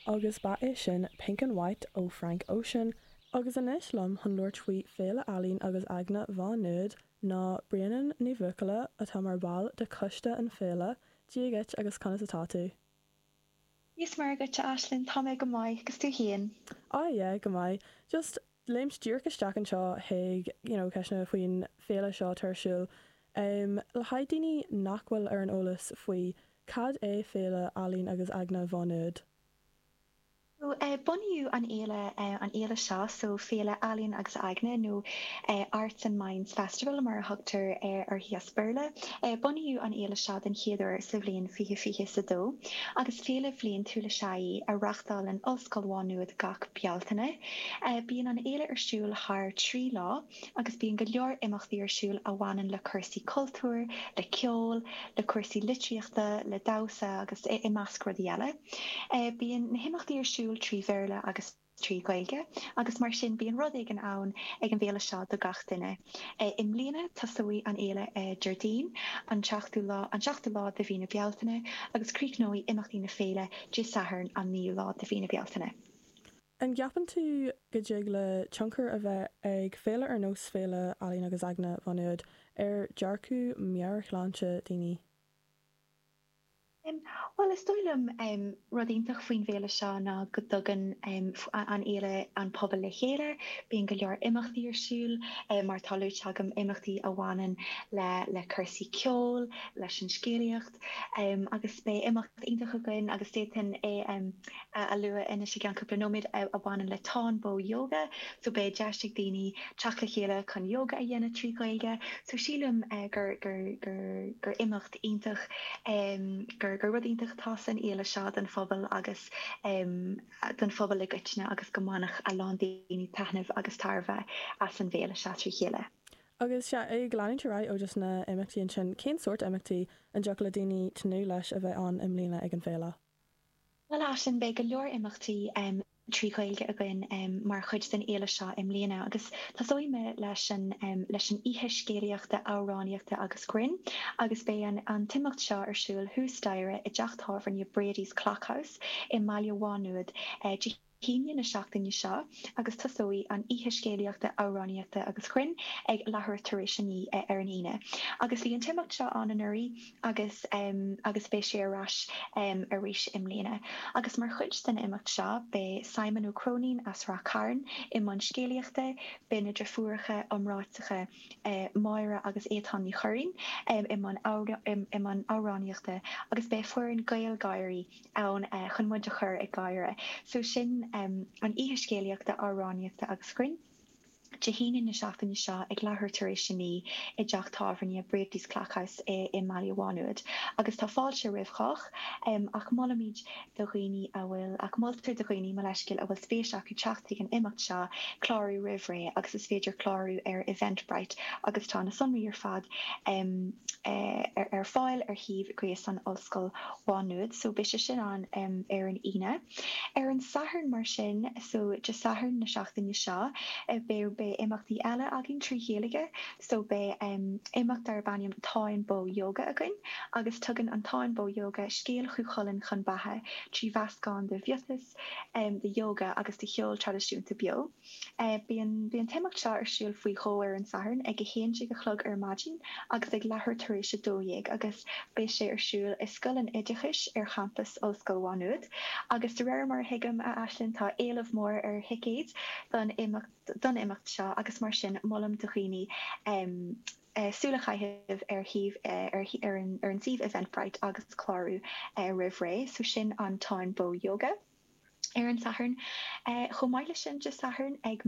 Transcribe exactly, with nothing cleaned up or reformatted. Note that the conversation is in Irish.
Agus ba é sin Pink and White ó Frank Ocean, agus anois liom chun labhairt faoi Féile Ealaíon agus Aigne Mhá Nuad ná Bréanainn Ní Bhuachalla atá mar bhall de choiste an féile. Dia dhuit agus conas atá tú? Is maith duit Aislinn tá mé go maith agus tú féin. Ah yeah, go maith. Just léimt díreach isteach anseo chuig you know, ceisteanna faoin féile seo atá ar siúl. Um, le haghaidh daoine nach bhfuil ar an eolas faoi cad é Féile Ealaíon agus Aigne Mhá Nuad. So, uh, bunaíodh an fhéile uh, an fhéile seo so Féile Ealaíon agus Aigne nó uh, Arts and Minds Festival mar a thugtar uh, uirthi as Béarla. Uh, bunaíodh an fhéile seo den chéad uair sa bhliain fiche fiche sa dó, agus féile bhliantúil is ea í a reáchtálann Ollscoil Mhá Nuad gach Bealtaine. Uh, bíonn an fhéile ar siúl thar trí lá agus bíonn go leor imeachtaí ar siúl a bhaineann le cúrsaí cultúir, le ceol, le cúrsaí litríochta, le damhsa agus i, i measc rudaí eile. Uh, bíonn na himeachtaí ar siúl trí Bhéarla agus trí Ghaeilge, agus mar sin bíonn rud éigin ann ag an bhféile seo do gach duine. E, I mbliana tosóidh an fhéile e, Déardaoin an seachtú lá an seachtú lá de mhí na Bealtaine agus críochnóidh imeachtaí na féile Dé Sathairn an naoú lá de mhí na Bealtaine. An gceapann tú go dtig le tionchar a bheith ag féile ar nós Féile Ealaíon agus Aigne Mhá Nuad ar dhearcadh meabhairshláinte daoine? Um, well is dóigh liom um, rud iontach faoin bhféile seo ná go dtugann um, an fhéile an pobal le chéile, bíonn go leor imeachtaí ar siúl um, mar tá luaite agam imeachtaí a bhaineann le le cúrsaí ceoil, leis an scéalaíocht, um, agus beidh imeacht iontach againn agus déan é um, a, a lua anois i gceann cúpla nóiméad a, a bhaineann le Táin Bó Yoga, so beidh deis ag daoine teacht le chéile chun yoga a dhéanamh trí Ghaeilge, so sílim uh, gur gur gur gur imeacht iontach um, gur gur rud iontach atá san fhéile seo don phobal agus um, don phobal i gcoitinne agus go mbainfidh a lán daoine taitneamh agus tairbhe as an bhféile seo trí chéile. Agus sé ag leanúint ar aghaidh ó just na imeachtaí ansin, cén sórt imeachtaí an dtiocfadh le daoine tnúth leis a bheith ann i mbliana ag an bhféile? Well sin beidh go leor imeachtaí um, trí Ghaeilge againn um, mar chuid den fhéile seo i mbliana agus tosóidh mé leis an um, leis an oíche scéalaíochta amhránaíochta agus grinn agus beidh an, an t-imeacht seo ar siúl thuas staighre i dteach tábhairne Brady's Clockhouse i mBaile Mhá Nuad uh, hAoine na seachtaine seo agus tosóidh an oíche scéalaíochta amhránaíochta agus grinn ag leathuair tar éis a naoi ar an Aoine. Agus bhí an t-imeacht seo ann anuraidh agus um, agus beidh sé ar ais um, arís i mbliana. Agus mar chuid den imeacht seo beidh Simon Ó Cróinín as Ráth Cairn i mbun scéalaíochta, beidh na deirfiúracha iomráiteacha uh, Máire agus Étáin Ní Churraoin um, i mbun amhránaíochta agus beidh foireann GaelGÁIRÍ ann uh, chun muid a chur ag gáire. So sin um, an oíche scéalaíochta amhránaíochta agus grinn. Dé hAoine na seachtaine seo ag leathuair tar éis a naoi i dteach tábhairne Brady's Clockhouse i, i mBaile Mhá Nuad. Agus tá fáilte roimh chách um, ach molaimid do dhaoine a bhfuil ach moltar do dhaoine mar leiscéal a bhfuil spéis acu teacht ag an imeacht seo clárú roimh ré agus is féidir clárú ar Eventbrite agus tá na sonraí ar fad um, uh, ar, ar fáil ar shuíomh gréasáin Ollscoil Mhá Nuad, so beidh sé sin an um, ar an Aoine. Ar an Satharn mar sin so Dé Sathairn na seachtaine seo uh, beidh beidh imeachtaí eile againn trí Ghaeilge, so beidh um, imeacht darb ainm Táin Bó Yoga againn, agus tugann an Táin Bó Yoga scéal Chú Chulainn chun beatha trí mheascán de mhiotas um, de yoga agus de cheol traidisiúnta beo. Uh, Bíonn bíonn an t-imeacht seo ar siúl faoi dhó ar an Satharn ag a haon déag a chlog ar maidin agus ag leathuair tar éis a dó dhéag agus beidh sé ar siúl i Scoil an Oideachais ar champas Ollscoil Mhá Nuad. Agus de réir mar a thuigim a Aislinn tá éileamh mór ar thicéid don imeacht don imeacht seo agus mar sin molaim do dhaoine um, uh, súil a chaitheamh ar shuíomh uh, ar, ar, an, ar an suíomh Eventbrite agus clárú uh, roimh ré, so sin an Táin Bó Yoga. Ar an Satharn uh, chomh maith leis sin Dé Sathairn ag